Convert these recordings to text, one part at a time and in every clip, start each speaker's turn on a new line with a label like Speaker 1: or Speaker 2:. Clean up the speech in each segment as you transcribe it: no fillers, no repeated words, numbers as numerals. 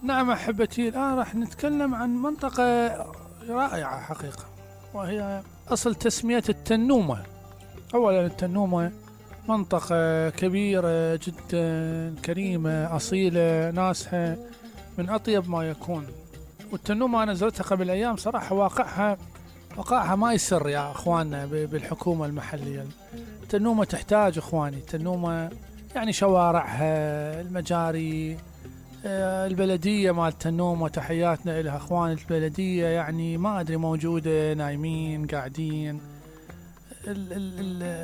Speaker 1: نعم أحبتي، الآن راح نتكلم عن منطقة رائعة حقيقة، وهي أصل تسمية التنومة. أولا التنومة منطقة كبيرة جدا، كريمة أصيلة، ناسها من أطيب ما يكون. والتنومة أنا زرتها قبل أيام صراحة، وقعها ما يسر يا أخواننا بالحكومة المحلية. التنومة تحتاج أخواني، التنومة يعني شوارعها، المجاري، البلدية مال التنومة تحياتنا إلها أخوان البلدية، يعني ما أدري موجودة نايمين قاعدين.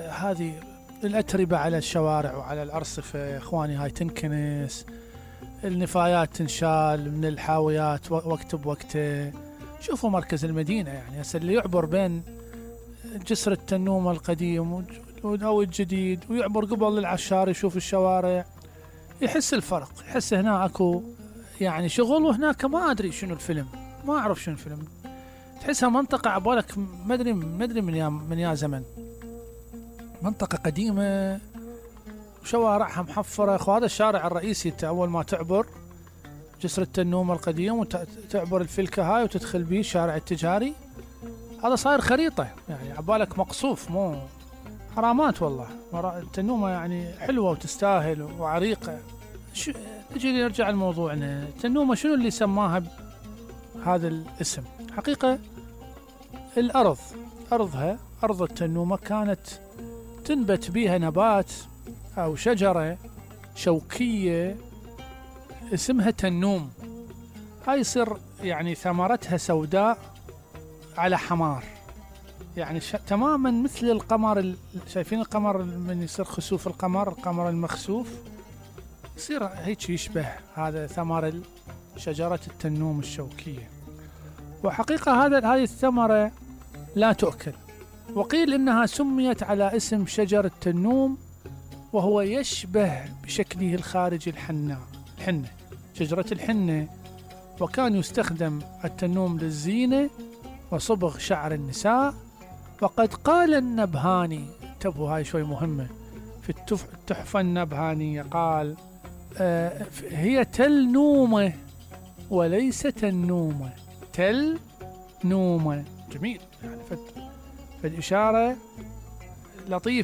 Speaker 1: هذه الأتربة على الشوارع وعلى الأرصفة أخواني هاي تنكنس، النفايات تنشال من الحاويات وقت بوقته. شوفوا مركز المدينة، يعني هسه اللي يعبر بين جسر التنومة القديم أو الجديد ويعبر قبل العشار يشوف الشوارع، يحس الفرق، يحس هنا اكو يعني شغل، وهناك ما ادري شنو الفيلم، ما اعرف شنو الفيلم. تحسها منطقة عبالك ما ادري من يا زمن، منطقة قديمة وشوارعها محفرة. اخو هذا الشارع الرئيسي، انت اول ما تعبر جسر التنومة القديم وتعبر الفلكة هاي وتدخل بيه الشارع التجاري، هذا صاير خريطة، يعني عبالك مقصوف، مو حرامات والله. التنومة يعني حلوة وتستاهل وعريقة. نجي نرجع لموضوعنا. التنومة شنو اللي سماها هذا الاسم؟ حقيقة الأرض، أرض التنومة كانت تنبت بيها نبات أو شجرة شوكية اسمها تنوم. هاي يصير يعني ثمرتها سوداء على حمار، يعني تماما مثل القمر. شايفين القمر من يصير خسوف القمر المخسوف، يصير هيك يشبه هذا ثمر شجرة التنوم الشوكية. وحقيقة هذه الثمرة لا تؤكل، وقيل إنها سميت على اسم شجر التنوم، وهو يشبه بشكله الخارجي الحنة، شجرة الحنة. وكان يستخدم التنوم للزينة وصبغ شعر النساء. وقد قال النبهاني، انتبهوا هاي شوي مهمة، في التحفة النبهانية قال هي تل نومة وليس تنومة، تل نومة. جميل، يعني فالإشارة لطيفة.